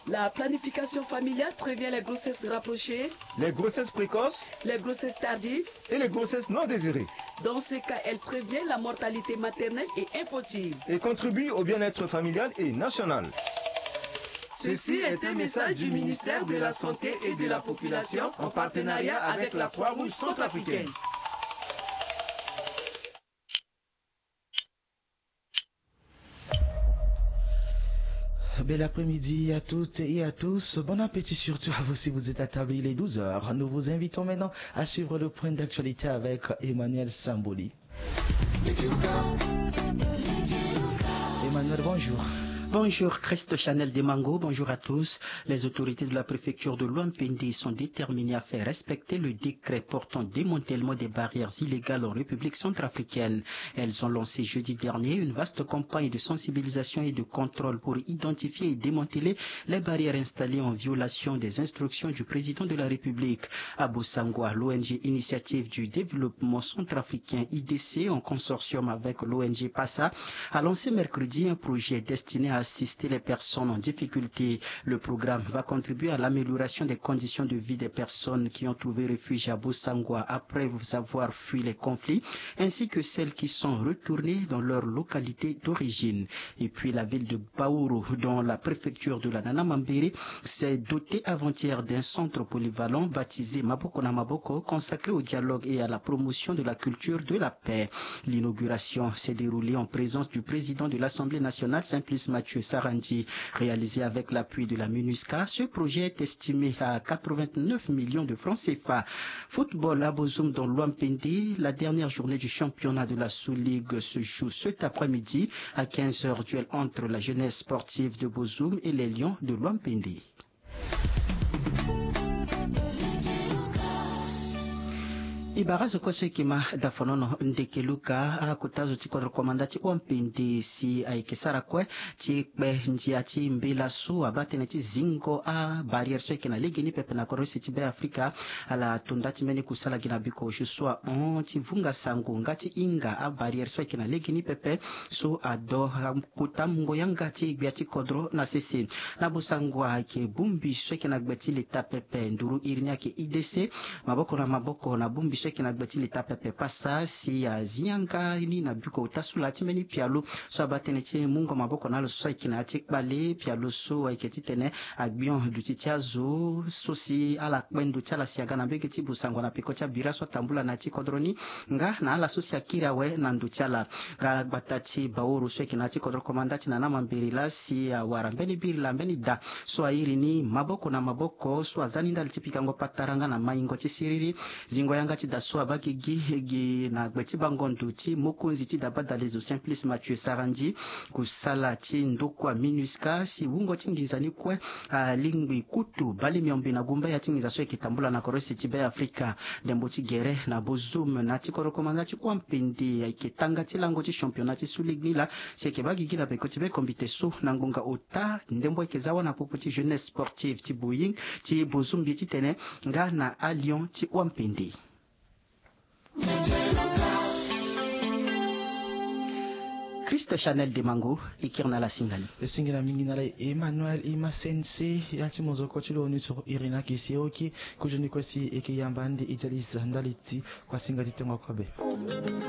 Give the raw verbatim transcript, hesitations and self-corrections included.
La planification familiale prévient les grossesses rapprochées, les grossesses précoces, les grossesses tardives et les grossesses non désirées. Dans ce cas, elle prévient la mortalité maternelle et infantile et contribue au bien-être familial et national. Ceci est un message du ministère de la Santé et de la Population en partenariat avec la Croix-Rouge centrafricaine. Bel après-midi à toutes et à tous. Bon appétit surtout à vous si vous êtes à table. Il est douze heures. Nous vous invitons maintenant à suivre le point d'actualité avec Emmanuel Samboli. Emmanuel, bonjour. Bonjour Christ Chanel Demango, bonjour à tous. Les autorités de la préfecture de Loampende sont déterminées à faire respecter le décret portant démantèlement des barrières illégales en République centrafricaine. Elles ont lancé jeudi dernier une vaste campagne de sensibilisation et de contrôle pour identifier et démanteler les barrières installées en violation des instructions du président de la République. À Bossangwa, l'O N G Initiative du Développement Centrafricain, I D C, en consortium avec l'O N G PASA, a lancé mercredi un projet destiné à assister les personnes en difficulté. Le programme va contribuer à l'amélioration des conditions de vie des personnes qui ont trouvé refuge à Bossangwa après avoir fui les conflits, ainsi que celles qui sont retournées dans leur localité d'origine. Et puis la ville de Baourou, dont la préfecture de la Nana Mambéré, s'est dotée avant-hier d'un centre polyvalent baptisé Maboko na Maboko, consacré au dialogue et à la promotion de la culture de la paix. L'inauguration s'est déroulée en présence du président de l'Assemblée nationale, Simplice Mathieu Sarandji. Réalisé avec l'appui de la MINUSCA, ce projet est estimé à quatre-vingt-neuf millions de francs C F A. Football à Bozoum dans Loampende, la dernière journée du championnat de la Sous-Ligue se joue cet après-midi à quinze heures. Duel entre la jeunesse sportive de Bozoum et les Lions de Loampende. E bara zo kue so e yeke ma dafonono ndeke luka akota zo ti kodro komanda ti Oampende si ayeke sara kue ti kpe ndia ti mbela so abaa tënë ti zingo abarrière so ayeke na legeni pepe na kodro use ti Be Afrika. Ala to nda ti mbeni kusala gi na biko osio so ahon ti vunga sango nga ti hinga abarrière so ayeke na legeni pepe so ado kota mungo yanga ti gbia ti kodro na sese. Na Bosango ayeke bongbi so ayeke na gbe ti leta pepe nduru iri ni ayeke I D C. Maboko na maboko na bongbi so ayeke na gbe ti leta pepe pasa si azi yanga ni na biko ota so laa ti mbeni pialo so abaa tënë ti mungo maboko na ala so ayeke na ya ti kpale pialo so ayeke titene agbion duti ti azo so si ala kpe ndo ti ala si aga na mbege ti Bosango na peko ti abira so atambula na ya ti kodro ni nga na ala so si akiri awe na ndo ti ala. Nga gbata ti Baoro so ayeke na ya ti kodro komanda ti Nana Mambere laa si awara mbeni biri laa mbeni da so airi ni maboko na maboko so aza ni ndali ti pikango patara nga na maingo ti siriri. Zingo yanga ti da so abaa gigi gi na gbe ti bango ndo ti mokonzi ti da badalezo Simplice Mathieu Sarandji. Kusala ti ndokua MINUSCA si wungo ti nginza ni kue alingbi kutu bale miombe na gumba ya ti nginza so ayeke tambula na kodro use ti Be Afrika. Ndembo ti gere na Bozoum na ya ti kodro komanda ti Oampende ayeke tanga ti lango ti championnat ti Sous-Ligue ni laa si ayeke baa gigi na peko ti be kombite so na ngonga ota ndembo ayeke za wâ na popo ti jeunesse sportive ti Boeing ti Bozoum mbi titene nga na alion ti Oampende. Christ Chanel Demango e kiri na ala singa ni. E singa na mingi na ala Emmanuel Imasense ya ti mozoko ti lo ni so iri ni ayeke si e oki. Kozoni kue si e yeke yamba ande e dialise ndali ti kuasinga ti tongo kobe.